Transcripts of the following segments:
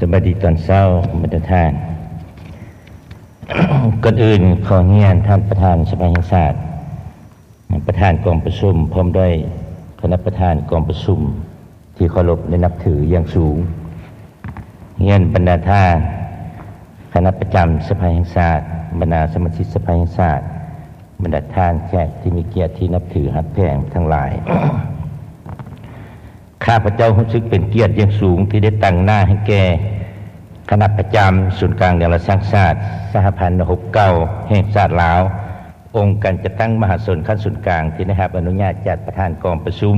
ສະບາຍດີຕອນເຊົ້າ ບັນດາທ່ານ. ກ່ອນອື່ນຂໍຮຽນທ່ານປະທານສະພາແຫ່ງຊາດ, ປະທານກອງປະຊຸມ ພ້ອມດ້ວຍຄະນະປະທານກອງປະຊຸມທີ່ເຄົາລົບ ແລະ ນັບຖືຢ່າງສູງ. ຮຽນບັນດາທ່ານຄະນະປະຈຳສະພາແຫ່ງຊາດ, ບັນດາສະມາຊິກສະພາແຫ່ງຊາດ, ບັນດາທ່ານແຂກທີ່ມີກຽດທີ່ນັບຖືຮັກແພງທັງຫຼາຍ. ຂ້າພະເຈົ້າຮູ້ສຶກເປັນກຽດຢ່າງສູງທີ່ໄດ້ຕາງໜ້າໃຫ້ແກ່ຄະນະປະຈຳສູນກາງແນວລາວສ້າງຊາດ, ສະຫະພັນນັກຮົບເກົ່າແຫ່ງຊາດລາວ, ອົງການຈັດຕັ້ງມະຫາຊົນຂັ້ນສູນກາງທີ່ໄດ້ຮັບອະນຸຍາດຈາກປະທານກອງປະຊຸມ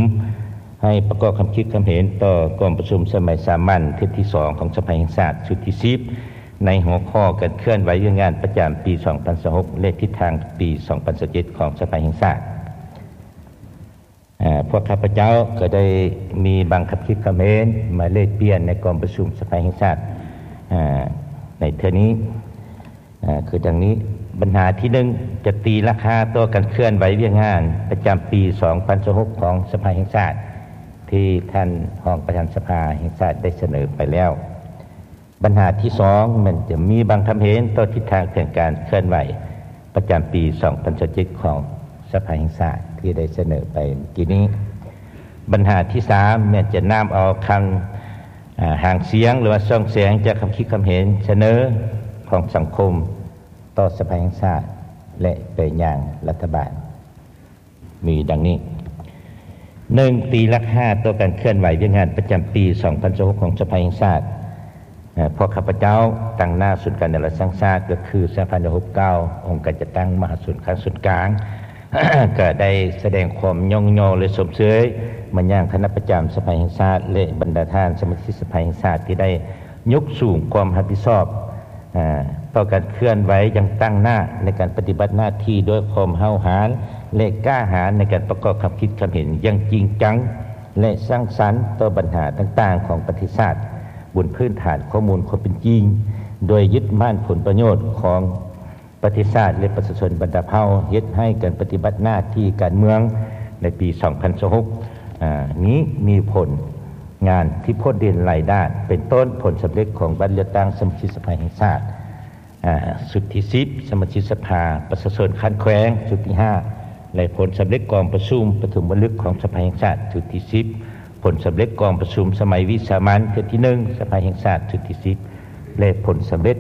ໃຫ້ປະກອບຄຳຄິດຄຳເຫັນຕໍ່ກອງປະຊຸມສະໄໝສາມັນເທື່ອທີສອງຂອງສະພາແຫ່ງຊາດຊຸດທີສິບ ໃນຫົວຂໍ້ການເຄື່ອນໄຫວວຽກງານປະຈຳປີສອງພັນຊາວຫົກ ແລະ ທິດທາງປີສອງພັນຊາວເຈັດຂອງສະພາແຫ່ງຊາດ. ອາ ພວກຂ້າພະເຈົ້າກໍໄດ້ມີບາງຄຳຄິດຄຳເຫັນມາແລກປ່ຽນໃນກອງປະຊຸມສະພາແຫ່ງຊາດ ອາ ໃນເທື່ອນີ້ ອາ ຄືດັ່ງນີ້. ບັນຫາທີໜຶ່ງ ຈະຕີລາຄາຕໍ່ການເຄື່ອນໄຫວວຽກງານປະຈຳປີສອງພັນຊາວຫົກຂອງສະພາແຫ່ງຊາດ ທີ່ທ່ານຮອງປະທານສະພາແຫ່ງຊາດໄດ້ສະເໜີໄປແລ້ວ. ບັນຫາທີສອງ ແມ່ນຈະມີບາງຄຳເຫັນຕໍ່ທິດທາງແຜນການເຄື່ອນໄຫວປະຈຳປີສອງພັນຊາວເຈັດຂອງສະພາແຫ່ງຊາດ ທີ່ໄດ້ສະເໜີໄປເມື່ອກີ້ນີ້. ບັນຫາທີສາມ ແມ່ນຈະນຳເອົາຄຳ ອາ ຫາງສຽງ ຫຼືວ່າຊ່ອງແສງຈາກຄຳຄິດຄຳເຫັນສະເໜີຂອງສັງຄົມຕໍ່ສະພາແຫ່ງຊາດ ແລະ ໄປຍັງລັດຖະບານ. ມີດັ່ງນີ້: ໜຶ່ງ, ຕີລາຄາຕໍ່ການເຄື່ອນໄຫວວຽກງານປະຈຳປີສອງພັນຊາວຫົກຂອງສະພາແຫ່ງຊາດ. ເອີ ພວກຂ້າພະເຈົ້າຕາງໜ້າສູນກາງແນວລາວສ້າງຊາດ ກໍຄືສະຫະພັນນັກຮົບເກົ່າ, ອົງການຈັດຕັ້ງມະຫາຊົນຂັ້ນສູນກາງ ກໍໄດ້ສະແດງຄວາມຍ້ອງຍໍ ແລະ ຊົມເຊີຍມາຍັງຄະນະປະຈຳສະພາແຫ່ງຊາດ ແລະ ບັນດາທ່ານສະມາຊິກສະພາແຫ່ງຊາດ ທີ່ໄດ້ຍົກສູງຄວາມຮັບຜິດຊອບ ອາ ຕໍ່ການເຄື່ອນໄຫວຢ່າງຕັ້ງໜ້າໃນການປະຕິບັດໜ້າທີ່ດ້ວຍຄວາມຫ້າວຫານ ແລະ ກ້າຫານໃນການປະກອບຄຳຄິດຄຳເຫັນຢ່າງຈິງຈັງ ແລະ ສ້າງສັນຕໍ່ບັນຫາຕ່າງໆຂອງປະເທດຊາດ ບົນພື້ນຖານຂໍ້ມູນຄວາມເປັນຈິງ, ໂດຍຍຶດໝັ້ນຜົນປະໂຫຍດຂອງປະເທດຊາດ ແລະ ປະຊາຊົນບັນດາເຜົ່າ, ເຮັດໃຫ້ການປະຕິບັດໜ້າທີ່ການເມືອງໃນປີສອງພັນຊາວຫົກ ອາ ນີ້ມີຜົນ ງານທີ່ພົ້ນເດັ່ນຫຼາຍດ້ານ ເປັນຕົ້ນຜົນສຳເລັດຂອງບັດເລືອກຕັ້ງສະມາຊິກສະພາແຫ່ງຊາດ ອາ ຊຸດທີສິບ, ສະມາຊິກສະພາປະຊາຊົນຂັ້ນແຂວງຊຸດທີຫ້າ ແລະ ຜົນສຳເລັດກອງປະຊຸມປະຖົມມະລຶກຂອງສະພາແຫ່ງຊາດຊຸດທີສິບ, ຜົນສຳເລັດກອງປະຊຸມສະໄໝວິສາມັນເທື່ອທີໜຶ່ງສະພາແຫ່ງຊາດຊຸດທີສິບ ແລະ ຜົນສຳເລັດ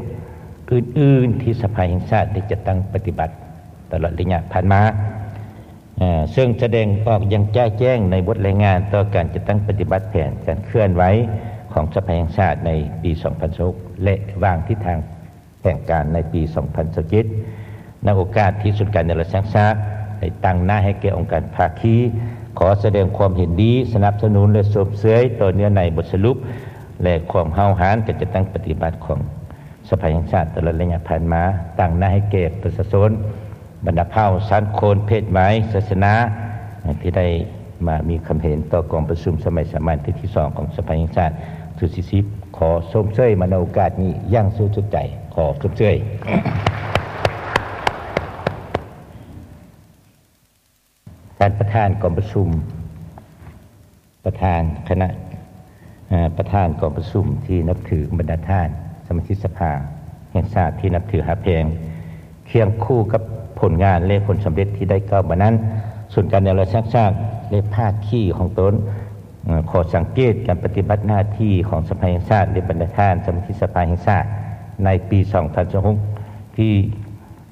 ອື່ນໆທີ່ສະພາແຫ່ງຊາດໄດ້ຈັດຕັ້ງປະຕິບັດຕະຫຼອດໄລຍະຜ່ານມາ. ເຊິ່ງສະແດງອອກຢ່າງຈະແຈ້ງໃນບົດລາຍງານຕໍ່ການຈັດຕັ້ງປະຕິບັດແຜນການເຄື່ອນໄຫວຂອງສະພາແຫ່ງຊາດໃນປີສອງພັນຊາວຫົກ ແລະ ວາງທິດທາງແຜນການໃນປີສອງພັນຊາວເຈັດ. ໃນໂອກາດທີ່ສູນກາງແນວລາວສ້າງຊາດໄດ້ຕາງໜ້າໃຫ້ແກ່ອົງການພາຄີ ຂໍສະແດງຄວາມເຫັນດີ, ສະໜັບສະໜູນ ແລະ ຊົມເຊີຍຕໍ່ເນື້ອໃນບົດສະຫຼຸບ ແລະ ຄວາມຫ້າວຫານການຈັດຕັ້ງປະຕິບັດຂອງ ສະພາແຫ່ງຊາດຕະຫຼອດໄລຍະຜ່ານມາ, ຕາງໜ້າໃຫ້ແກ່ປະຊາຊົນ ບັນດາເຜົ່າ, ຊັ້ນຄົນ, ເພດໄວ, ສາສະໜາ ທີ່ໄດ້ມາມີຄຳເຫັນຕໍ່ກອງປະຊຸມສະໄໝສາມັນເທື່ອທີສອງຂອງສະພາແຫ່ງຊາດຊຸດທີສິບ ຂໍຊົມເຊີຍມາໃນໂອກາດນີ້ຢ່າງສຸດໃຈ. ຂໍຊົມເຊີຍ. ທ່ານປະທານກອງປະຊຸມ, ປະທານຄະນະ ເອີ ປະທານກອງປະຊຸມທີ່ນັບຖື, ບັນດາທ່ານສະມາຊິກສະພາແຫ່ງຊາດທີ່ນັບຖືຮັກແພງ, ຄຽງຄູ່ກັບຜົນງານ ແລະ ຜົນສຳເລັດທີ່ໄດ້ກ່າວມານັ້ນ, ສູນກາງແນວລາວສ້າງຊາດ ແລະ ພາຄີຂອງຕົນ ເອີ ຂໍສັງເກດການປະຕິບັດໜ້າທີ່ຂອງສະພາແຫ່ງຊາດ ແລະ ບັນດາທ່ານສະມາຊິກສະພາແຫ່ງຊາດໃນປີສອງພັນຊາວຫົກ ທີ່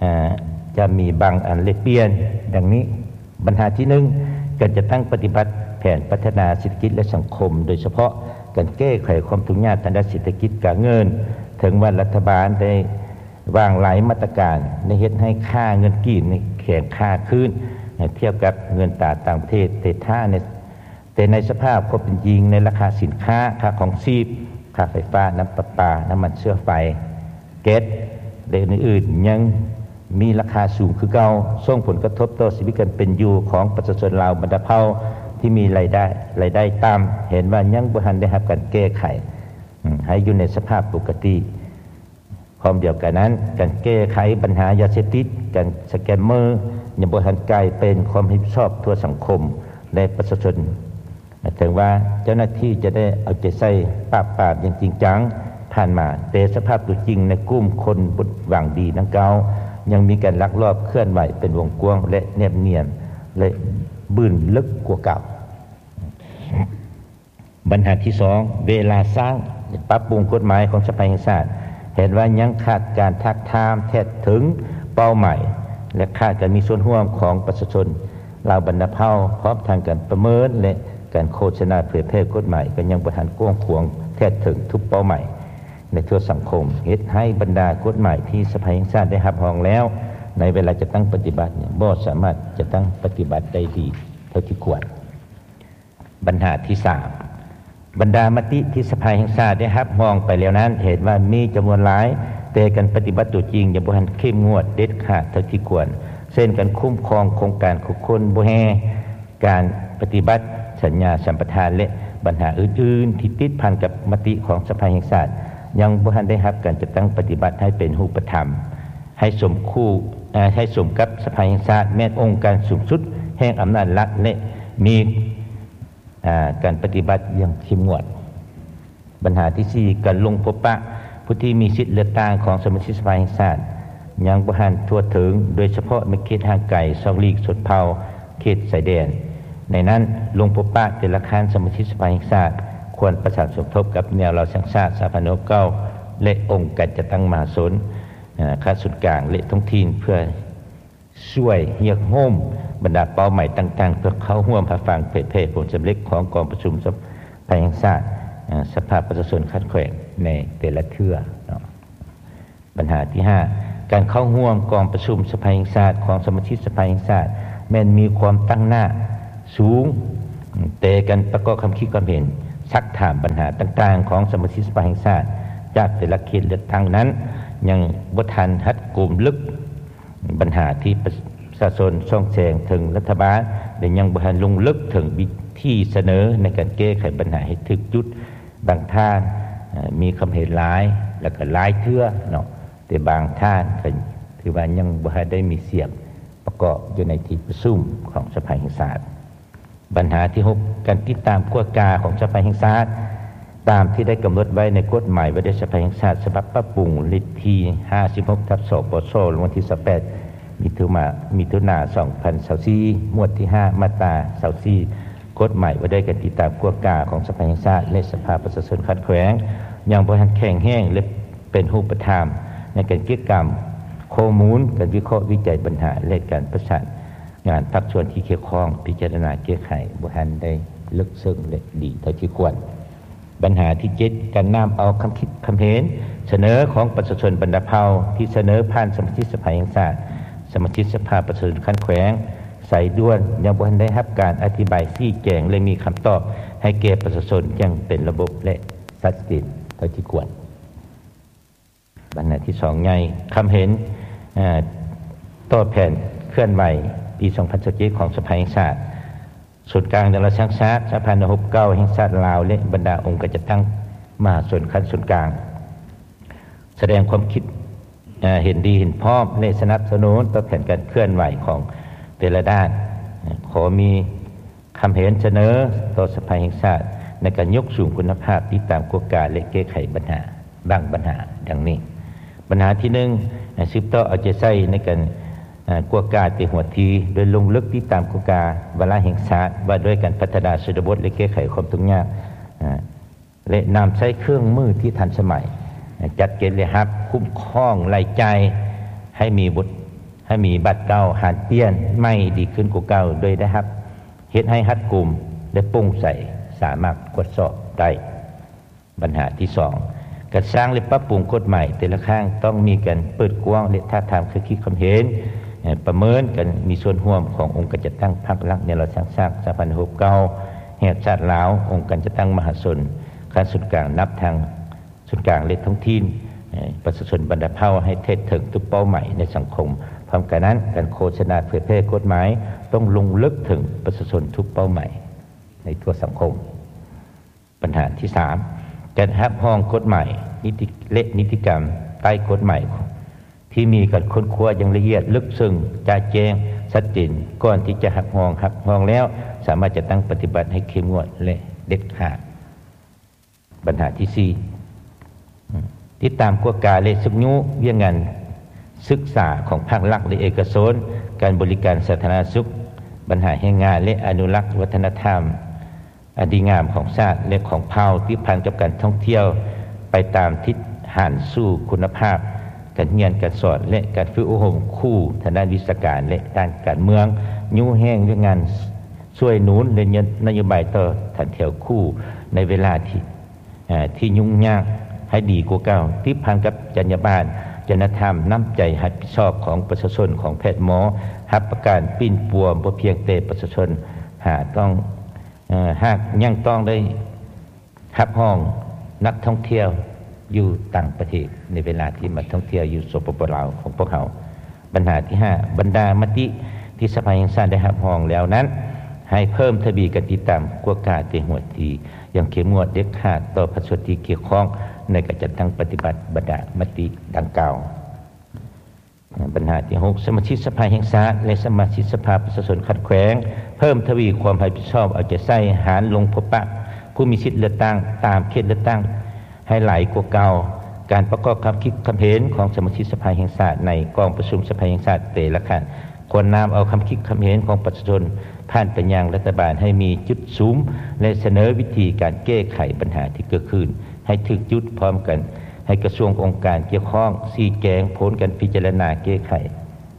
ອາ ຈະມີບາງອັນແລກປ່ຽນດັ່ງນີ້. ບັນຫາທີໜຶ່ງ, ການຈັດຕັ້ງປະຕິບັດແຜນພັດທະນາເສດຖະກິດ ແລະ ສັງຄົມ, ໂດຍສະເພາະການແກ້ໄຂຄວາມທຸກຍາກທາງດ້ານເສດຖະກິດການເງິນ. ເຖິງວ່າລັດຖະບານໄດ້ວາງຫຼາຍມາດຕະການ ໄດ້ເຮັດໃຫ້ຄ່າເງິນກີບແຂງຄ່າຂຶ້ນ ເມື່ອທຽບກັບເງິນຕາຕ່າງປະເທດ, ແຕ່ຖ້າໃນ ແຕ່ໃນສະພາບຄວາມເປັນຈິງ ໃນລາຄາສິນຄ້າ, ຄ່າຄອງຊີບ, ຄ່າໄຟຟ້າ, ນ້ຳປະປາ, ນ້ຳມັນເຊື້ອໄຟ, ແກັດ ແລະ ອື່ນໆ ຍັງມີລາຄາສູງຄືເກົ່າ, ສົ່ງຜົນກະທົບຕໍ່ຊີວິດການເປັນຢູ່ຂອງປະຊາຊົນລາວບັນດາເຜົ່າທີ່ມີລາຍໄດ້ ລາຍໄດ້ຕ່ຳ, ເຫັນວ່າຍັງບໍ່ທັນໄດ້ຮັບການແກ້ໄຂ ອາ ໃຫ້ຢູ່ໃນສະພາບປົກກະຕິ. ພ້ອມດຽວກັນນັ້ນ, ການແກ້ໄຂບັນຫາຢາເສບຕິດ, ການສະແກມເມີ ຍັງບໍ່ທັນກາຍເປັນຄວາມຮັບຜິດຊອບທົ່ວສັງຄົມ ແລະ ປະຊາຊົນ. ເຖິງວ່າເຈົ້າໜ້າທີ່ຈະໄດ້ເອົາໃຈໃສ່ປາບປາມຢ່າງຈິງຈັງ, ຜ່ານມາ, ແຕ່ສະພາບຕົວຈິງໃນກຸ່ມຄົນບໍ່ຫວັງດີດັ່ງກ່າວ ຍັງມີການລັກລອບເຄື່ອນໄຫວເປັນວົງກວ້າງ ແລະ ແນບນຽນ ແລະ ບືນເລິກກວ່າເກົ່າ. ບັນຫາທີສອງ, ເວລາສ້າງ ປັບປຸງກົດໝາຍຂອງສະພາແຫ່ງຊາດ ເຫັນວ່າຍັງຂາດການທາບທາມແທດເຖິງເປົ້າໝາຍ ແລະ ຂາດການມີສ່ວນຮ່ວມຂອງປະຊາຊົນລາວບັນດາເຜົ່າ, ພ້ອມທັງການປະເມີນ ແລະ ການໂຄສະນາເຜີຍແຜ່ກົດໝາຍ ກໍຍັງບໍ່ທັນກວ້າງຂວາງແທດເຖິງທຸກເປົ້າໝາຍໃນທົ່ວສັງຄົມ, ເຮັດໃຫ້ບັນດາກົດໝາຍທີ່ສະພາແຫ່ງຊາດໄດ້ຮັບຮອງແລ້ວ ໃນເວລາຈັດຕັ້ງປະຕິບັດນີ້ ບໍ່ສາມາດຈັດຕັ້ງປະຕິບັດໄດ້ດີເທົ່າທີ່ຄວນ. ບັນຫາທີສາມ, ບັນດາມະຕິທີ່ສະພາແຫ່ງຊາດໄດ້ຮັບຮອງໄປແລ້ວນັ້ນ ເຫັນວ່າມີຈຳນວນຫຼາຍ, ແຕ່ການປະຕິບັດຕົວຈິງຍັງບໍ່ທັນເຂັ້ມງວດເດັດຂາດເທົ່າທີ່ຄວນ, ເຊັ່ນ ການຄຸ້ມຄອງໂຄງການຂຸດຄົ້ນບໍ່ແຮ່, ການປະຕິບັດສັນຍາສຳປະທານ ແລະ ບັນຫາອື່ນໆທີ່ຕິດພັນກັບມະຕິຂອງສະພາແຫ່ງຊາດ ຍັງບໍ່ທັນໄດ້ຮັບການຈັດຕັ້ງປະຕິບັດໃຫ້ເປັນຮູບປະທຳ, ໃຫ້ສົມຄູ່ ເອີ ໃຫ້ສົມກັບສະພາແຫ່ງຊາດແມ່ນອົງການສູງສຸດແຫ່ງອຳນາດລັດ ແລະ ມີ ອາ ການປະຕິບັດຢ່າງເຂັ້ມງວດ. ບັນຫາທີສີ່, ການລົງພົບປະຜູ້ທີ່ມີສິດເລືອກຕັ້ງຂອງສະມາຊິກສະພາແຫ່ງຊາດ ຍັງບໍ່ທັນທົ່ວເຖິງ, ໂດຍສະເພາະໃນເຂດຫ່າງໄກ, ຊອກຫຼີກຊົນເຜົ່າ, ເຂດຊາຍແດນ. ໃນນັ້ນ, ລົງພົບປະແຕ່ລະຂັ້ນສະມາຊິກສະພາແຫ່ງຊາດ ຄວນປະສານສົມທົບກັບແນວລາວສ້າງຊາດ ສະຫະພັນຫ້າສິບເກົ້າ ແລະ ອົງການຈັດຕັ້ງມະຫາຊົນ, ອາ ຂັ້ນສູນກາງ ແລະ ທ້ອງຖິ່ນ ເພື່ອ ຊ່ວຍຮຽກໂຮມບັນດາເປົ້າໝາຍຕ່າງໆ ເພື່ອເຂົ້າຮ່ວມຮັບຟັງເຜີຍແຜ່ຜົນສຳເລັດຂອງກອງປະຊຸມສະພາແຫ່ງຊາດ, ເອີ ສະພາປະຊາຊົນຂັ້ນແຂວງໃນແຕ່ລະເທື່ອເນາະ. ບັນຫາທີຫ້າ, ການເຂົ້າຮ່ວມກອງປະຊຸມສະພາແຫ່ງຊາດຂອງສະມາຊິກສະພາແຫ່ງຊາດ ແມ່ນມີຄວາມຕັ້ງໜ້າສູງ, ແຕ່ການປະກອບຄຳຄິດຄວາມເຫັນ, ຊັກຖາມບັນຫາຕ່າງໆຂອງສະມາຊິກສະພາແຫ່ງຊາດ ຈາກແຕ່ລະເຂດເລືອກຕັ້ງນັ້ນ ຍັງບໍ່ທັນຮັດກຸມເລິກ ບັນຫາທີ່ປະຊາຊົນສ່ອງແສງເຖິງລັດຖະບານ ແລະ ຍັງບໍ່ທັນລົງເລິກເຖິງວິທີສະເໜີໃນການແກ້ໄຂບັນຫາໃຫ້ຖືກຈຸດ. ບາງທ່ານ ເອີ ມີຄຳເຫັນຫຼາຍ ແລະ ກໍຫຼາຍເທື່ອເນາະ, ແຕ່ບາງທ່ານກໍຖືວ່າຍັງບໍ່ທັນໄດ້ມີສຽງປະກອບຢູ່ໃນທີ່ປະຊຸມຂອງສະພາແຫ່ງຊາດ. ບັນຫາທີຫົກ, ການຕິດຕາມກວດກາຂອງສະພາແຫ່ງຊາດ ຕາມທີ່ໄດ້ກຳນົດໄວ້ໃນກົດໝາຍວ່າດ້ວຍສະພາແຫ່ງຊາດ ສະບັບປັບປຸງ ເລກທີຫ້າສິບຫົກ ທັບ ສປຊ ລົງວັນທີຊາວແປດ ມິຖຸນາ ມິຖຸນາ ສອງພັນຊາວສີ່ ໝວດທີຫ້າ ມາດຕາຊາວສີ່ ກົດໝາຍວ່າດ້ວຍການຕິດຕາມກວດກາຂອງສະພາແຫ່ງຊາດ ແລະ ສະພາປະຊາຊົນຂັ້ນແຂວງ ຍັງບໍ່ທັນແຂງແຮງ ແລະ ເປັນຮູບປະທຳໃນການເກັບກຳຂໍ້ມູນ, ການວິເຄາະວິໄຈບັນຫາ ແລະ ການປະສານ ງານພາກສ່ວນທີ່ກ່ຽວຂ້ອງພິຈາລະນາແກ້ໄຂບໍ່ທັນໄດ້ເລິກເຊິ່ງ ແລະ ດີເທົ່າທີ່ຄວນ. ບັນຫາທີເຈັດ, ການນຳເອົາຄຳຄິດຄຳເຫັນສະເໜີຂອງປະຊາຊົນບັນດາເຜົ່າທີ່ສະເໜີຜ່ານສະມາຊິກສະພາແຫ່ງຊາດ, ສະມາຊິກສະພາປະຊາຊົນຂັ້ນແຂວງ ສາຍດ່ວນ ຍັງບໍ່ທັນໄດ້ຮັບການອະທິບາຍຊີ້ແຈງ ແລະ ມີຄຳຕອບໃຫ້ແກ່ປະຊາຊົນຢ່າງເປັນລະບົບ ແລະ ຊັດເຈນເທົ່າທີ່ຄວນ. ບັນຫາທີສອງໃຫຍ່, ຄຳເຫັນ ເອີ ຕໍ່ແຜນເຄື່ອນໄຫວປີສອງພັນຊາວເຈັດຂອງສະພາແຫ່ງຊາດ, ສູນກາງແນວລາວສ້າງຊາດ, ສະພາໜ່ວຍຮົບເກົ່າແຫ່ງຊາດລາວ ແລະ ບັນດາອົງການຈັດຕັ້ງມະຫາຊົນຂັ້ນສູນກາງ ສະແດງຄວາມຄິດ ເອີ ເຫັນດີເຫັນພ້ອມ ແລະ ສະໜັບສະໜູນຕໍ່ແຜນການເຄື່ອນໄຫວຂອງແຕ່ລະດ້ານ. ຂໍມີ ຄຳເຫັນສະເໜີຕໍ່ສະພາແຫ່ງຊາດໃນການຍົກສູງຄຸນນະພາບ, ຕິດຕາມກວດກາ ແລະ ແກ້ໄຂບັນຫາບາງບັນຫາ ດັ່ງນີ້. ບັນຫາທີໜຶ່ງ, ສືບຕໍ່ເອົາໃຈໃສ່ໃນການ ເອີ ກວດກາແຕ່ຫົວທີ ໂດຍລົງເລິກຕິດຕາມກວດກາວາລະແຫ່ງຊາດວ່າດ້ວຍການພັດທະນາຊົນນະບົດ ແລະ ແກ້ໄຂຄວາມທຸກຍາກ ເອີ ແລະ ນຳໃຊ້ເຄື່ອງມືທີ່ທັນສະໄໝ, ຈັດເກັບລາຍຮັບ, ຄຸ້ມຄອງລາຍຈ່າຍໃຫ້ມີບົດ ໃຫ້ມີບາດເກົ່າ ຫັນປ່ຽນໃໝ່ດີຂຶ້ນກວ່າເກົ່າ ໂດຍໄດ້ຮັບ ເຮັດໃຫ້ຮັດກຸມ ແລະ ໂປ່ງໃສ, ສາມາດກວດສອບໄດ້. ບັນຫາທີສອງ, ການສ້າງ ແລະ ປັບປຸງກົດໝາຍແຕ່ລະຄັ້ງ ຕ້ອງມີການເປີດກວ້າງ ແລະ ທາບທາມຄຳຄິດຄຳເຫັນ ເອີ ປະເມີນການມີສ່ວນຮ່ວມຂອງອົງການຈັດຕັ້ງພັກລັດ ແນວລາວສ້າງຊາດ ສະພາໜ່ວຍຮົບເກົ່າແຫ່ງຊາດລາວ, ອົງການຈັດຕັ້ງມະຫາຊົນຂັ້ນສູນກາງ ນັບທັງ ສູນກາງ ແລະ ທ້ອງຖິ່ນ ເອີ ປະຊາຊົນບັນດາເຜົ່າໃຫ້ເທັດເຖິງທຸກເປົ້າໝາຍໃນສັງຄົມ. ພ້ອມກັນນັ້ນ, ການໂຄສະນາເຜີຍແຜ່ກົດໝາຍຕ້ອງລົງເລິກເຖິງປະຊາຊົນທຸກເປົ້າໝາຍໃນທົ່ວສັງຄົມ. ບັນຫາທີສາມ, ການຮັບຮອງກົດໝາຍ ນິຕິ ແລະ ນິຕິກຳໃຕ້ກົດໝາຍ ທີ່ມີການຄົ້ນຄວ້າຢ່າງລະອຽດເລິກເຊິ່ງ, ຈະແຈ້ງຊັດເຈນ ກ່ອນທີ່ຈະຮັບຮອງ, ຮັບຮອງແລ້ວ ສາມາດຈັດຕັ້ງປະຕິບັດໃຫ້ເຂັ້ມງວດ ແລະ ເດັດຂາດ. ບັນຫາທີສີ່, ອາ ຕິດຕາມກວດກາ ແລະ ຊຸກຍູ້ວຽກງານສຶກສາຂອງພາກລັດ ແລະ ເອກະຊົນ, ການບໍລິການສາທາລະນະສຸກ, ບັນຫາແຮງງານ ແລະ ອະນຸລັກວັດທະນະທຳ ອັນດີງາມຂອງຊາດ ແລະ ຂອງເຜົ່າ, ຕິດພັນກັບການທ່ອງທ່ຽວໄປຕາມທິດຫັນສູ່ຄຸນນະພາບການຮຽນການສອນ ແລະ ການຝຶກອົບຮົມຄູທາງດ້ານວິຊາການ ແລະ ດ້ານການເມືອງ, ຍູ້ແຮງວຽກງານຊ່ວຍໜູນ ແລະ ນະໂຍບາຍຕໍ່ຖັນແຖວຄູໃນເວລາທີ່ ເອີ່ ທີ່ຫຍຸ້ງຍາກໃຫ້ດີກວ່າເກົ່າ, ຕິດພັນກັບຈັນຍາບານ, ຈະນະທຳ, ນ້ຳໃຈຮັບຜິດຊອບຂອງປະຊາຊົນ, ຂອງແພດໝໍ, ຮັບປະກັນ, ປິ່ນປົວ, ບໍ່ພຽງແຕ່ປະຊາຊົນຫາກຕ້ອງ ເອີ່ ຫາກຍັງຕ້ອງໄດ້ຮັບຮອງນັກທ່ອງທ່ຽວຢູ່ຕ່າງປະເທດ ໃນເວລາທີ່ມາທ່ອງທ່ຽວຢູ່ ສປປ ລາວ ຂອງພວກເຮົາ. ບັນຫາທີຫ້າ ບັນດາມະຕິທີ່ສະພາແຫ່ງຊາດໄດ້ຮັບຮອງແລ້ວນັ້ນ ໃຫ້ເພີ່ມທະວີການຕິດຕາມກວດກາແຕ່ຫົວທີຢ່າງເຂັ້ມງວດເດັດຂາດຕໍ່ພາກສ່ວນທີ່ກ່ຽວຂ້ອງໃນການຈັດຕັ້ງປະຕິບັດບັນດາມະຕິດັ່ງກ່າວ. ບັນຫາທີຫົກ ສະມາຊິກສະພາແຫ່ງຊາດ ແລະ ສະມາຊິກສະພາປະຊາຊົນຂັ້ນແຂວງ ເພີ່ມທະວີຄວາມຮັບຜິດຊອບເອົາໃຈໃສ່ ຫານລົງພົບປະຜູ້ມີສິດເລືອກຕັ້ງຕາມເຂດເລືອກຕັ້ງ ໃຫ້ຫຼາຍກວ່າເກົ່າ, ການປະກອບຄຳຄິດຄຳເຫັນຂອງສະມາຊິກສະພາແຫ່ງຊາດໃນກອງປະຊຸມສະພາແຫ່ງຊາດແຕ່ລະຄັ້ງ ຄວນນຳເອົາຄຳຄິດຄຳເຫັນຂອງປະຊາຊົນຜ່ານໄປຍັງລັດຖະບານໃຫ້ມີຈຸດສຸມ ແລະ ສະເໜີວິທີການແກ້ໄຂບັນຫາທີ່ເກີດຂຶ້ນໃຫ້ຖືກຈຸດ, ພ້ອມກັນໃຫ້ກະຊວງອົງການກ່ຽວຂ້ອງຊີ້ແຈງຜົນການພິຈາລະນາແກ້ໄຂ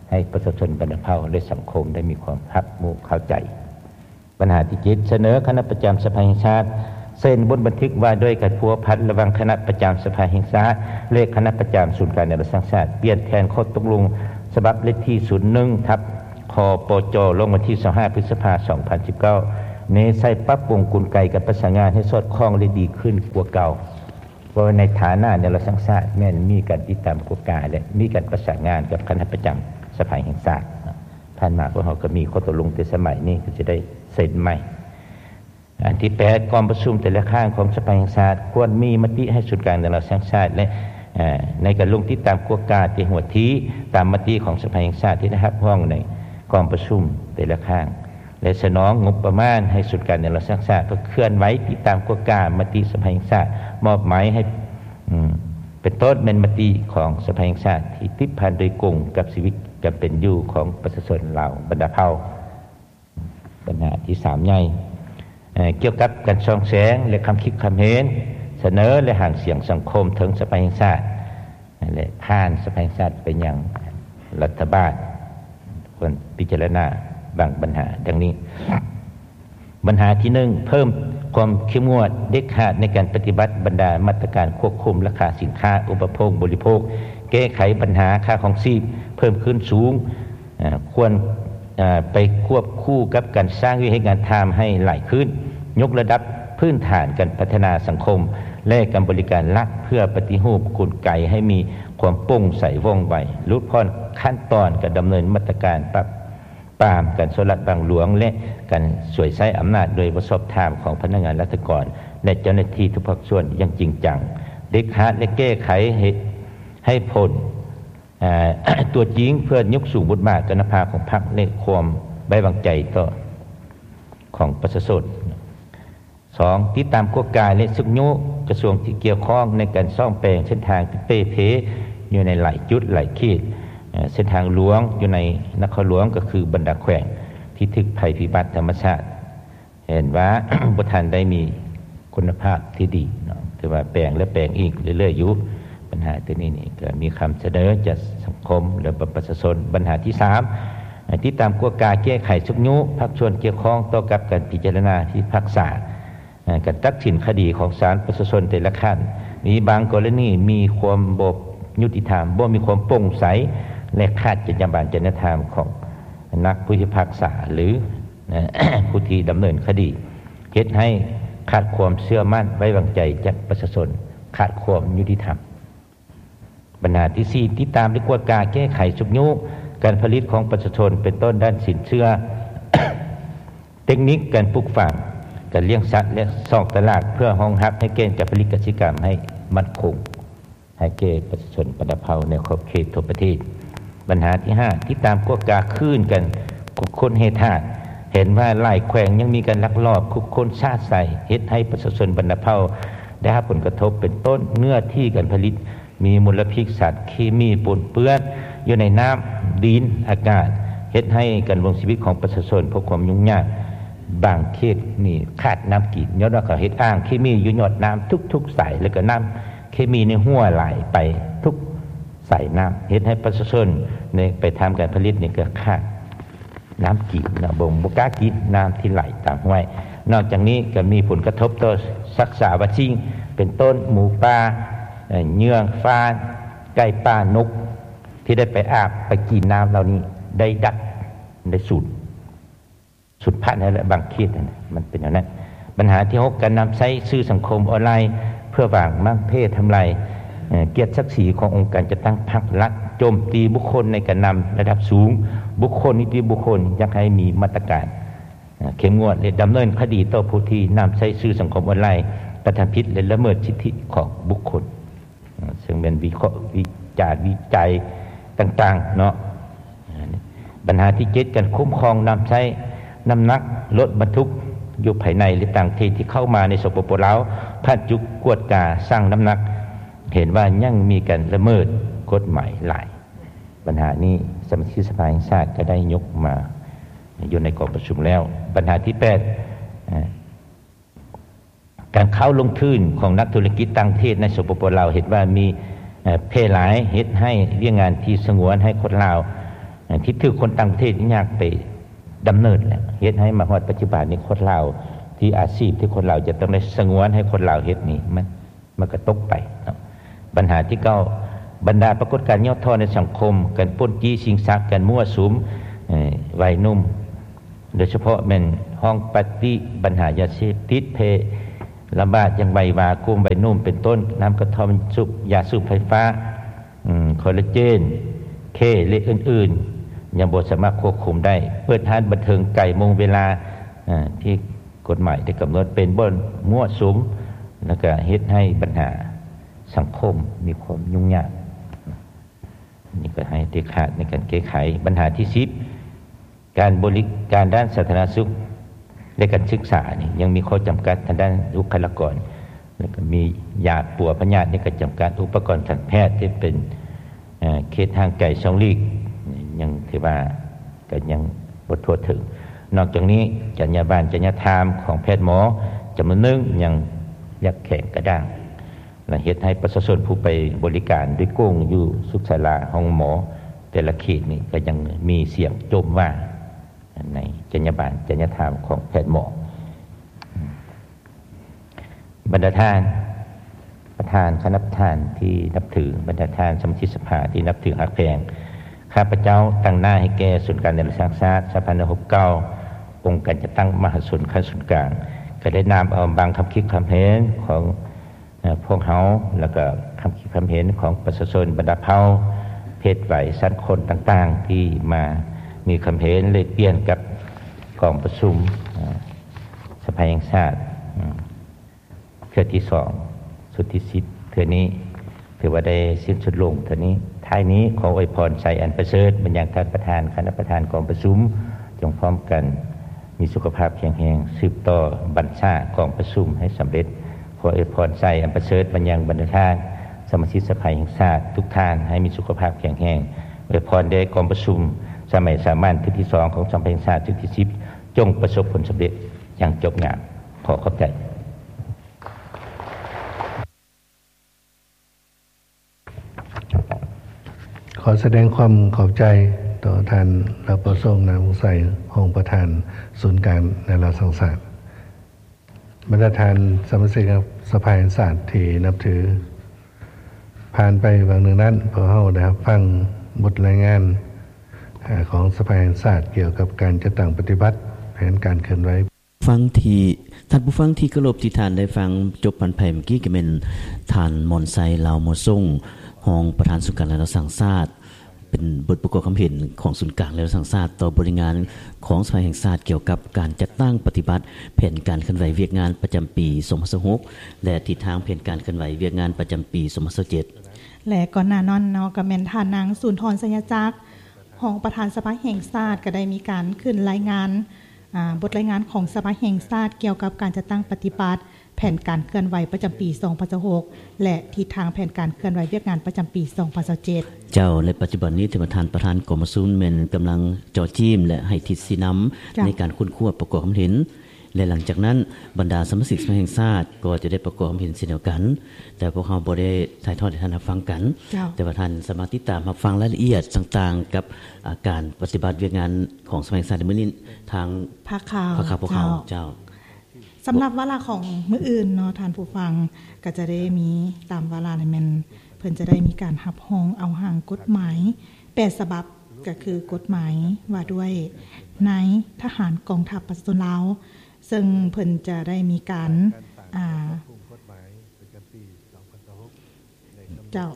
ໃຫ້ປະຊາຊົນບັນດາເຜົ່າ ແລະ ສັງຄົມໄດ້ມີຄວາມຮັບຮູ້ເຂົ້າໃຈ. ບັນຫາທີເຈັດ ສະເໜີຄະນະປະຈຳສະພາແຫ່ງຊາດ ເຊັນບົດບັນທຶກວ່າດ້ວຍການພົວພັນລະຫວ່າງຄະນະປະຈຳສະພາແຫ່ງຊາດ ແລະ ຄະນະປະຈຳສູນກາງແນວລາວສ້າງຊາດ ປ່ຽນແຜນຂໍ້ຕົກລົງສະບັບເລກທີ ສູນໜຶ່ງ ທັບ ຄປຈ ລົງວັນທີ ຊາວຫ້າ ພຶດສະພາ ສອງພັນສິບເກົ້າ ແນໃສ່ປັບປຸງກົນໄກການປະສານງານໃຫ້ສອດຄ່ອງ ແລະ ດີຂຶ້ນກວ່າເກົ່າ. ເພາະວ່າໃນຖານະແນວລາວສ້າງຊາດ ແມ່ນມີການຕິດຕາມກວດກາ ແລະ ມີການປະສານງານກັບຄະນະປະຈຳສະພາແຫ່ງຊາດ. ຜ່ານມາພວກເຮົາກໍມີຂໍ້ຕົກລົງ ແຕ່ສະໄໝນີ້ກໍຈະໄດ້ເຊັນໃໝ່. ອັນທີແປດ ກອງປະຊຸມແຕ່ລະຄັ້ງຂອງສະພາແຫ່ງຊາດ ຄວນມີມະຕິໃຫ້ສູນກາງແນວລາວສ້າງຊາດ ແລະ ໃນການລົງຕິດຕາມກວດກາແຕ່ຫົວທີ ຕາມມະຕິຂອງສະພາແຫ່ງຊາດທີ່ໄດ້ຮັບຮອງໃນກອງປະຊຸມແຕ່ລະຄັ້ງ ແລະ ສະໜອງງົບປະມານໃຫ້ສູນກາງແນວລາວສ້າງຊາດ ເພື່ອເຄື່ອນໄຫວຕິດຕາມກວດກາມະຕິສະພາແຫ່ງຊາດ ມອບໝາຍໃຫ້ ເປັນຕົ້ນແມ່ນມະຕິຂອງສະພາແຫ່ງຊາດທີ່ຕິດພັນໂດຍກົງກັບຊີວິດການເປັນຢູ່ຂອງປະຊາຊົນລາວບັນດາເຜົ່າ. ບັນຫາທີສາມໃຫຍ່ ເອີ່ ກ່ຽວກັບການສ່ອງແສງ ແລະ ຄຳຄິດຄຳເຫັນ, ສະເໜີ ແລະ ຫາງສຽງສັງຄົມເຖິງສະພາແຫ່ງຊາດ ແລະ ຜ່ານສະພາແຫ່ງຊາດໄປຍັງລັດຖະບານ ຄວນພິຈາລະນາບາງບັນຫາດັ່ງນີ້. ບັນຫາທີໜຶ່ງ ເພີ່ມຄວາມເຂັ້ມງວດເດັດຂາດໃນການປະຕິບັດບັນດາມາດຕະການຄວບຄຸມລາຄາສິນຄ້າອຸປະໂພກບໍລິໂພກ, ແກ້ໄຂບັນຫາຄ່າຄອງຊີບເພີ່ມຂຶ້ນສູງ ເອີ່ ຄວນ ເອີ່ ໄປຄວບຄູ່ກັບການສ້າງວຽກເຮັດງານທຳໃຫ້ຫຼາຍຂຶ້ນ, ຍົກລະດັບພື້ນຖານການພັດທະນາສັງຄົມ ແລະ ການບໍລິການລັດ ເພື່ອປະຕິຮູບກົນໄກໃຫ້ມີຄວາມໂປ່ງໃສວ່ອງໄວ, ຫຼຸດຜ່ອນຂັ້ນຕອນການດຳເນີນມາດຕະການປາບປາມການສໍ້ລາດບັງຫຼວງ ແລະ ການສວຍໃຊ້ອຳນາດໂດຍບໍ່ຊອບທຳຂອງພະນັກງານລັດຖະກອນ ແລະ ເຈົ້າໜ້າທີ່ທຸກພາກສ່ວນຢ່າງຈິງຈັງ, ເດັດຂາດ ແລະ ແກ້ໄຂໃຫ້ ໃຫ້ຜົນ ເອີ່ ຕົວຈິງ ເພື່ອຍົກສູງບົດບາດກັນນະພາບຂອງພັກ ແລະ ຄວາມໄວ້ວາງໃຈຕໍ່ ຂອງປະຊາຊົນ. ສອງ ຕິດຕາມກວດກາ ແລະ ຊຸກຍູ້ກະຊວງທີ່ກ່ຽວຂ້ອງໃນການສ້ອມແປງເສັ້ນທາງທີ່ເປ່ເພຢູ່ໃນຫຼາຍຈຸດຫຼາຍເຂດ, ເອີ່ ເສັ້ນທາງຫຼວງຢູ່ໃນນະຄອນຫຼວງ ກໍຄືບັນດາແຂວງທີ່ຖືກໄພພິບັດທຳມະຊາດ ເຫັນວ່າ ບໍ່ທັນໄດ້ມີຄຸນນະພາບທີ່ດີເນາະ, ຖືວ່າແປງແລ້ວແປງອີກເລື້ອຍໆຢູ່. ບັນຫາຕົວນີ້ນີ້ກໍມີຄຳສະເໜີຈາກສັງຄົມ ແລະ ປະຊາຊົນ. ບັນຫາທີສາມ ໃຫ້ຕິດຕາມກວດກາແກ້ໄຂຊຸກຍູ້ພາກສ່ວນກ່ຽວຂ້ອງຕໍ່ກັບການພິຈາລະນາພິພາກສາ ການຕັດສິນຄະດີຂອງສານປະຊາຊົນແຕ່ລະຂັ້ນ. ມີບາງກໍລະນີມີຄວາມບໍ່ຍຸຕິທຳ, ບໍ່ມີຄວາມໂປ່ງໃສ ແລະ ຂາດຈັນຍາບານຈະນະທຳຂອງນັກຜູ້ພິພາກສາ ຫຼື ຜູ້ທີ່ດຳເນີນຄະດີ ເຮັດໃຫ້ຂາດຄວາມເຊື່ອໝັ້ນໄວ້ວາງໃຈຈາກປະຊາຊົນ, ຂາດຄວາມຍຸຕິທຳ. ບັນຫາທີສີ່ ຕິດຕາມ ແລະ ກວດກາແກ້ໄຂຊຸກຍູ້ການຜະລິດຂອງປະຊາຊົນ ເປັນຕົ້ນດ້ານສິນເຊື່ອ, ເຕັກນິກການປູກຝັງ, ການລ້ຽງສັດ ແລະ ຊ່ອງຕະຫຼາດ ເພື່ອຮອງຮັບໃຫ້ແກ່ນການຜະລິດກະສິກຳໃຫ້ໝັ້ນຄົງ ໃຫ້ແກ່ປະຊາຊົນບັນດາເຜົ່າໃນຂອບເຂດທົ່ວປະເທດ. ບັນຫາທີຫ້າ ຕິດຕາມກວດກາຄືນການຂຸດຄົ້ນແຮ່ທາດ, ເຫັນວ່າຫຼາຍແຂວງຍັງມີການລັກລອບຂຸດຄົ້ນຊະຊາຍ ເຮັດໃຫ້ປະຊາຊົນບັນດາເຜົ່າໄດ້ຮັບຜົນກະທົບ ເປັນຕົ້ນເນື້ອທີ່ການຜະລິດ ມີມົນລະພິດສານເຄມີປົນເປື້ອນຢູ່ໃນນ້ຳ, ດິນ, ອາກາດ, ເຮັດໃຫ້ການດຳລົງຊີວິດຂອງປະຊາຊົນພົບຄວາມຫຍຸ້ງຍາກ. ບາງເຂດນີ້ຂາດນ້ຳກິນ ຍ້ອນວ່າເຂົາເຮັດອ່າງເຄມີຢູ່ຍອດນ້ຳທຸກໆສາຍ ແລ້ວກໍນ້ຳເຄມີນີ້ຮົ່ວໄຫຼໄປທຸກສາຍນ້ຳ ເຮັດໃຫ້ປະຊາຊົນໃນ ໄປທຳການຜະລິດນີ້ກໍຂາດ ນ້ຳກິນເນາະ ບໍ່ ບໍ່ກ້າກິນນ້ຳທີ່ໄຫຼຕາມຫ້ວຍ. ນອກຈາກນີ້ກໍມີຜົນກະທົບຕໍ່ສັດສາວະສິ່ງ ເປັນຕົ້ນໝູປ່າ, ເຫຍື່ອງຟານ, ໄກ່ປ່າ, ນົກ ທີ່ໄດ້ໄປອາບໄປກິນນ້ຳເຫຼົ່ານີ້ ໄດ້ດັບ ໄດ້ສູນ ສູນພັນແລ້ວແຫຼະ ບາງເຂດຫັ້ນນະ ມັນເປັນແນວນັ້ນ. ບັນຫາທີຫົກ ການນຳໃຊ້ສື່ສັງຄົມອອນລາຍເພື່ອຫວັງໝັ້ນເພທຳລາຍ ເອີ ກຽດສັກສີຂອງອົງການຈັດຕັ້ງພັກລັດ, ໂຈມຕີບຸກຄົນໃນການນຳລະດັບສູງ, ບຸກຄົນ, ນິຕິບຸກຄົນ ຢາກໃຫ້ມີມາດຕະການ ເອີ ເຂັ້ມງວດ ແລະ ດຳເນີນຄະດີຕໍ່ຜູ້ທີ່ນຳໃຊ້ສື່ສັງຄົມອອນລາຍ ກະທຳຜິດ ແລະ ລະເມີດສິດທິຂອງບຸກຄົນ ເຊິ່ງແມ່ນວິເຄາະ ວິຈານ ວິໄຈຕ່າງໆເນາະ. ບັນຫາທີເຈັດ ການຄຸ້ມຄອງນຳໃຊ້ນ້ຳໜັກລົດບັນທຸກຢູ່ພາຍໃນ ແລະ ຕ່າງປະເທດທີ່ເຂົ້າມາໃນ ສປປ ລາວ ຜ່ານຈຸດກວດກາຊັ່ງນ້ຳໜັກ ເຫັນວ່າຍັງມີການລະເມີດກົດໝາຍຫຼາຍ. ບັນຫານີ້ສະມາຊິກສະພາແຫ່ງຊາດກໍໄດ້ຍົກມາຢູ່ໃນກອງປະຊຸມແລ້ວ. ບັນຫາທີແປດ ການເຂົ້າລົງທຶນຂອງນັກທຸລະກິດຕ່າງປະເທດໃນ ສປປ ລາວ ເຫັນວ່າມີ ເອີ ແຜ່ຫຼາຍ ເຮັດໃຫ້ວຽກງານທີ່ສະຫງວນໃຫ້ຄົນລາວ ເອີ ທີ່ຖືກຄົນຕ່າງປະເທດຍາກໄປດຳເນີນ ແລະ ເຮັດໃຫ້ມາຮອດປັດຈຸບັນນີ້ ຄົນລາວທີ່ອາຊີບທີ່ຄົນລາວຈະຕ້ອງໄດ້ສະຫງວນໃຫ້ຄົນລາວເຮັດນີ້ ມັນ ມັນກໍຕົກໄປເນາະ. ບັນຫາທີເກົ້າ ບັນດາປາກົດການຫຍໍ້ທໍ້ໃນສັງຄົມ, ການປຸ້ນຈີ້ຊິງຊັບ, ການມົ້ວສຸມ ເອີ ໄວໜຸ່ມ ໂດຍສະເພາະແມ່ນຫ້ອງປາຕີ້, ບັນຫາຢາເສບຕິດແຜ່ລະບາດຢ່າງໄວວາ, ກຸ່ມໄວໜຸ່ມເປັນຕົ້ນ ນ້ຳກະທ່ອມສູບ, ຢາສູບໄຟຟ້າ, ອືມ ຄໍລາເຈນ, ເຄ ແລະ ອື່ນໆ ຍັງບໍ່ສາມາດຄວບຄຸມໄດ້. ເປີດຮ້ານບັນເທີງໄກໂມງເວລາ ເອີ ທີ່ ກົດໝາຍໄດ້ກຳນົດເປັນບ່ອນມົ້ວສຸມ ແລ້ວກະເຮັດໃຫ້ບັນຫາສັງຄົມມີຄວາມຫຍຸ້ງຍາກ. ນີ້ກໍໃຫ້ເດັດຂາດໃນການແກ້ໄຂ. ບັນຫາທີສິບ ການບໍລິການດ້ານສາທາລະນະສຸກ ແລະ ການສຶກສານີ້ຍັງມີຂໍ້ຈຳກັດທາງດ້ານບຸກຄະລາກອນ ແລ້ວກໍມີຢາປົວພະຍາດນີ້ກໍຈຳກັດ, ອຸປະກອນການແພດທີ່ເປັນ ເອີ ເຂດຫ່າງໄກຊ່ອງຫຼີກ ຍັງຖືວ່າກໍຍັງບໍ່ທົ່ວເຖິງ. ນອກຈາກນີ້ ຈັນຍາບານ ຈັນຍາທາມຂອງແພດໝໍຈຳນວນໜຶ່ງຍັງຢາກແຂງກະດ້າງ ແລະ ເຮັດໃຫ້ປະຊາຊົນຜູ້ໄປບໍລິການໂດຍກົງຢູ່ສຸກສາລາ ໂຮງໝໍແຕ່ລະເຂດນີ້ ກໍຍັງມີສຽງຈົ່ມວ່າງໃນຈັນຍາບານ ຈັນຍາທາມຂອງແພດໝໍ. ບັນດາທ່ານ ປະທານ ຄະນະປະທານທີ່ນັບຖື, ບັນດາທ່ານສະມາຊິກສະພາທີ່ນັບຖືຮັກແພງ, ຂ້າພະເຈົ້າຕາງໜ້າໃຫ້ແກ່ສູນກາງແນວລາວສ້າງຊາດ ສະຫະພັນນັກຮົບເກົ່າ, ອົງການຈັດຕັ້ງມະຫາຊົນຂັ້ນສູນກາງ ກໍໄດ້ນຳເອົາບາງຄຳຄິດຄຳເຫັນຂອງ ເອີ ພວກເຮົາ ແລ້ວກໍຄຳຄິດຄຳເຫັນຂອງປະຊາຊົນບັນດາເຜົ່າ, ເພດໄວ, ຊັ້ນຄົນຕ່າງໆ ທີ່ມາມີຄຳເຫັນແລກປ່ຽນກັບກອງປະຊຸມ ເອີ ສະພາແຫ່ງຊາດ ເທື່ອທີສອງ ຊຸດທີສິບ ເທື່ອນີ້ ຖືວ່າໄດ້ສິ້ນສຸດລົງເທື່ອນີ້. ທ້າຍນີ້ ຂໍອວຍພອນໄຊອັນປະເສີດມາຍັງທ່ານປະທານ, ຄະນະປະທານກອງປະຊຸມ, ຈົ່ງພ້ອມກັນມີສຸຂະພາບແຂງແຮງ, ສືບຕໍ່ບັນຊາກອງປະຊຸມໃຫ້ສຳເລັດ. ຂໍອວຍພອນໄຊອັນປະເສີດມາຍັງບັນດາທ່ານສະມາຊິກສະພາແຫ່ງຊາດທຸກທ່ານ ໃຫ້ມີສຸຂະພາບແຂງແຮງ. ອວຍພອນແດ່ກອງປະຊຸມສະໄໝສາມັນເທື່ອທີສອງຂອງສະພາແຫ່ງຊາດຊຸດທີສິບ ຈົ່ງປະສົບຜົນສຳເລັດຢ່າງຈົບງາມ. ຂໍຂອບໃຈ. ຂໍສະແດງຄວາມຂອບໃຈຕໍ່ທ່ານ ລາວປະສົງ ນາວົງໄຊ, ຮອງປະທານສູນກາງແນວລາວສ້າງຊາດ. ບັນດາທ່ານສະມາຊິກສະພາແຫ່ງຊາດທີ່ນັບຖື, ຜ່ານໄປຫວ່າງໜຶ່ງນັ້ນ, ພວກເຮົາໄດ້ຮັບຟັງບົດລາຍງານ ເອີ ຂອງສະພາແຫ່ງຊາດກ່ຽວກັບການຈັດຕັ້ງປະຕິບັດແຜນການເຄື່ອນໄຫວ. ຟັງທີ່ ທ່ານຜູ້ຟັງທີ່ເຄົາລົບ, ທີ່ທ່ານໄດ້ຟັງຈົບຜ່ານໄປເມື່ອກີ້ ກໍແມ່ນທ່ານ ມອນໄຊ ລາວໝໍສົງ, ຮອງປະທານສູນກາງແລະລາວສ້າງຊາດ, ເປັນບົດປະກອບຄຳເຫັນຂອງສູນກາງແລະລາວສ້າງຊາດ ຕໍ່ບົດລາຍງານຂອງສະພາແຫ່ງຊາດ ກ່ຽວກັບການຈັດຕັ້ງປະຕິບັດແຜນການເຄື່ອນໄຫວວຽກງານປະຈຳປີສອງພັນຊາວຫົກ ແລະ ທິດທາງແຜນການເຄື່ອນໄຫວວຽກງານປະຈຳປີສອງພັນຊາວເຈັດ. ແລະ ກ່ອນໜ້ານັ້ນເນາະ ກໍແມ່ນທ່ານນາງ ສູນທອນ ໄຊຍະຈັກ, ຮອງປະທານສະພາແຫ່ງຊາດ ກໍໄດ້ມີການຂຶ້ນລາຍງານ ອາ ບົດລາຍງານຂອງສະພາແຫ່ງຊາດ ກ່ຽວກັບການຈັດຕັ້ງປະຕິບັດແຜ ແຜນການເຄື່ອນໄຫວປະຈຳປີສອງພັນຊາວຫົກ ແລະ ທິດທາງແຜນການເຄື່ອນໄຫວວຽກງານປະຈຳປີສອງພັນຊາວເຈັດ. ເຈົ້າ ແລະ ປັດຈຸບັນນີ້ ທ່ານປະທານກອງປະຊຸມແມ່ນກຳລັງເຈາະຈີ້ມ ແລະ ໃຫ້ທິດຊີ້ນຳ ເຈົ້າ ໃນການຄົ້ນຄວ້າປະກອບຄວາມເຫັນ ແລະ ຫຼັງຈາກນັ້ນ ບັນດາສະມາຊິກສະພາແຫ່ງຊາດກໍຈະໄດ້ປະກອບຄວາມເຫັນເຊັ່ນດຽວກັນ, ແຕ່ພວກເຮົາບໍ່ໄດ້ຖ່າຍທອດໃຫ້ທ່ານຮັບຟັງກັນ, ເຈົ້າ ແຕ່ວ່າທ່ານສາມາດຕິດຕາມຮັບຟັງລາຍລະອຽດຕ່າງໆ ກັບ ອາ ການປະຕິບັດວຽກງານຂອງສະພາແຫ່ງຊາດໃນມື້ນີ້ທາງພາກຂ່າວ ພາກຂ່າວພວກເຮົາ. ເຈົ້າ ເຈົ້າ. ສຳລັບວາລະຂອງມື້ອື່ນເນາະ ທ່ານຜູ້ຟັງ ກໍຈະໄດ້ມີຕາມວາລະນີ້ແມ່ນ ເພິ່ນຈະໄດ້ມີການຮັບຮອງເອົາຮ່າງກົດໝາຍແປດສະບັບ ກໍຄືກົດໝາຍວ່າດ້ວຍນາຍທະຫານກອງທັບປະຊາຊົນລາວ ເຊິ່ງເພິ່ນຈະໄດ້ມີການ ອ່າ ເຈົ້າ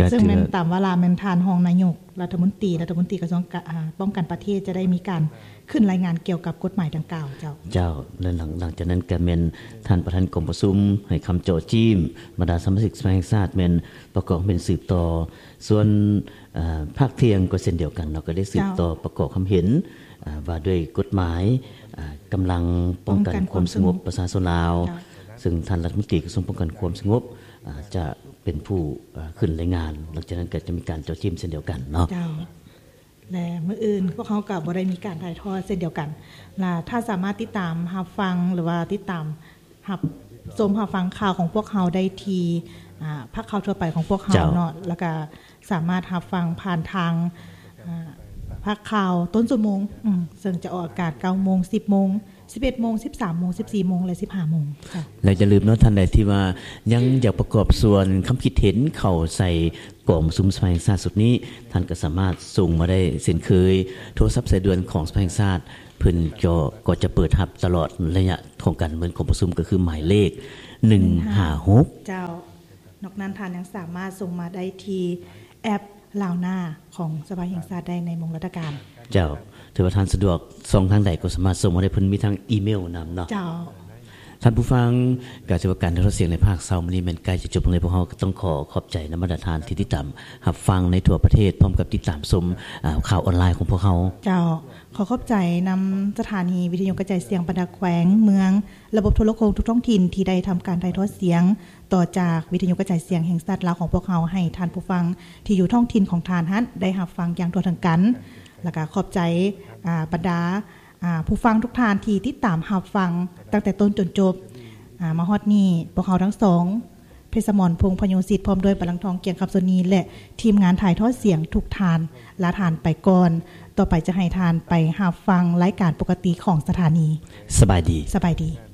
ເຊິ່ງແມ່ນຕາມວາລະແມ່ນທ່ານຮອງນາຍົກລັດຖະມົນຕີ ລັດຖະມົນຕີກະຊວງກະ ອາ ປ້ອງກັນປະເທດ ຈະໄດ້ມີການຂຶ້ນລາຍງານກ່ຽວກັບກົດໝາຍດັ່ງກ່າວ. ເຈົ້າ ເຈົ້າ ແລະ ຫຼັງ ຫຼັງຈາກນັ້ນກະແມ່ນທ່ານປະທານກອງປະຊຸມໃຫ້ຄຳເຈາະຈີ້ມ ບັນດາສະມາຊິກສະພາແຫ່ງຊາດແມ່ນປະກອບເປັນສືບຕໍ່ ສ່ວນ ອາ ພາກທ່ຽງກໍເຊັ່ນດຽວກັນເນາະ ກໍໄດ້ສືບຕໍ່ ເຈົ້າ ປະກອບຄຳເຫັນ ອາ ວ່າດ້ວຍກົດໝາຍ ອາ ກຳລັງປ້ອງກັນຄວາມສະຫງົບປະຊາຊົນລາວ ເຈົ້າ ເຊິ່ງທ່ານລັດຖະມົນຕີກະຊວງປ້ອງກັນຄວາມສະຫງົບ ອາ ຈະເປັນຜູ້ ອາ ຂຶ້ນລາຍງານ ຫຼັງຈາກນັ້ນກໍຈະມີການເຈາະຈີ້ມເຊັ່ນດຽວກັນເນາະ. ເຈົ້າ ແລະ ມື້ອື່ນພວກເຮົາກໍບໍ່ໄດ້ມີການຖ່າຍທອດເຊັ່ນດຽວກັນ ລະທ່ານສາມາດຕິດຕາມຮັບຟັງ ຫຼືວ່າຕິດຕາມຮັບຊົມຮັບຟັງຂ່າວຂອງພວກເຮົາໄດ້ທີ່ ອາ ພາກຂ່າວທົ່ວໄປຂອງພວກເຮົາ ເຈົ້າ ເນາະ ແລ້ວກໍ ສາມາດຮັບຟັງຜ່ານທາງ ເອີ ພາກຂ່າວຕົ້ນຊົ່ວໂມງ ອືມ ເຊິ່ງຈະອອກອາກາດເກົ້າໂມງ ສິບໂມງ ສິບເອັດໂມງ ສິບສາມໂມງ ສິບສີ່ໂມງ ແລະ ສິບຫ້າໂມງ. ເຈົ້າ ແລະ ຢ່າລືມເນາະ ທ່ານໃດທີ່ວ່າຍັງຢາກປະກອບສ່ວນຄຳຄິດເຫັນເຂົ້າໃສ່ກອງປະຊຸມສະພາແຫ່ງຊາດຊຸດນີ້ ທ່ານກໍສາມາດສົ່ງມາໄດ້ເຊັ່ນເຄີຍ. ໂທລະສັບສາຍດ່ວນຂອງສະພາແຫ່ງຊາດ ເພິ່ນກໍ ກໍຈະເປີດຮັບຕະຫຼອດໄລຍະຂອງການດຳເນີນກອງປະຊຸມ ກໍຄືໝາຍເລກໜຶ່ງຫ້າຫົກ. ເຈົ້າ. ນອກນັ້ນທ່ານຍັງສາມາດສົ່ງມາໄດ້ທີ່ແອັບລາວໜ້າຂອງສະພາແຫ່ງຊາດໄດ້ໃນໂມງລັດຖະການ. ເຈົ້າ ຖືວ່າທ່ານສະດວກຊ່ອງທາງໃດກໍສາມາດສົ່ງມາໄດ້ ເພິ່ນມີທັງອີເມວນຳເນາະ. ເຈົ້າ. ທ່ານຜູ້ຟັງ ກະຖືວ່າການຖ່າຍທອດສຽງໃນພາກເຊົ້າມື້ນີ້ແມ່ນໃກ້ຈະຈົບລົງແລ້ວ. ພວກເຮົາກໍຕ້ອງຂໍຂອບໃຈນຳບັນດາທ່ານທີ່ຕິດຕາມຮັບຟັງໃນທົ່ວປະເທດ ພ້ອມກັບຕິດຕາມຊົມ ອາ ຂ່າວອອນລາຍຂອງພວກເຮົາ. ເຈົ້າ. ຂໍຂອບໃຈນຳສະຖານີວິທະຍຸກະຈາຍສຽງບັນດາແຂວງ ເມືອງ ລະບົບໂທລະໂຄ່ງທຸກທ້ອງຖິ່ນທີ່ໄດ້ທຳການຖ່າຍທອດສຽງ ຕໍ່ຈາກວິທະຍຸກະຈາຍສຽງແຫ່ງຊາດລາວຂອງພວກເຮົາ ໃຫ້ທ່ານຜູ້ຟັງທີ່ຢູ່ທ້ອງຖິ່ນຂອງທ່ານຫັ້ນໄດ້ຮັບຟັງຢ່າງທົ່ວເຖິງກັນ. ແລ້ວກະຂອບໃຈ ອາ ບັນດາ ອາ ຜູ້ຟັງທຸກທ່ານທີ່ຕິດຕາມຮັບຟັງຕັ້ງແຕ່ຕົ້ນຈົນຈົບ. ອາ ມາຮອດນີ້ ພວກເຮົາທັງສອງ ເພັດສະໝອນ ພົງພະໂຍສິດ ພ້ອມດ້ວຍ ບັນລັງທອງ ກຽງຄຳ ໂຊນີ ແລະ ທີມງານຖ່າຍທອດສຽງທຸກທ່ານ ລາທ່ານໄປກ່ອນ. ຕໍ່ໄປຈະໃຫ້ທ່ານໄປຮັບຟັງລາຍການປົກກະຕິຂອງສະຖານີ. ສະບາຍດີ. ສະບາຍດີ.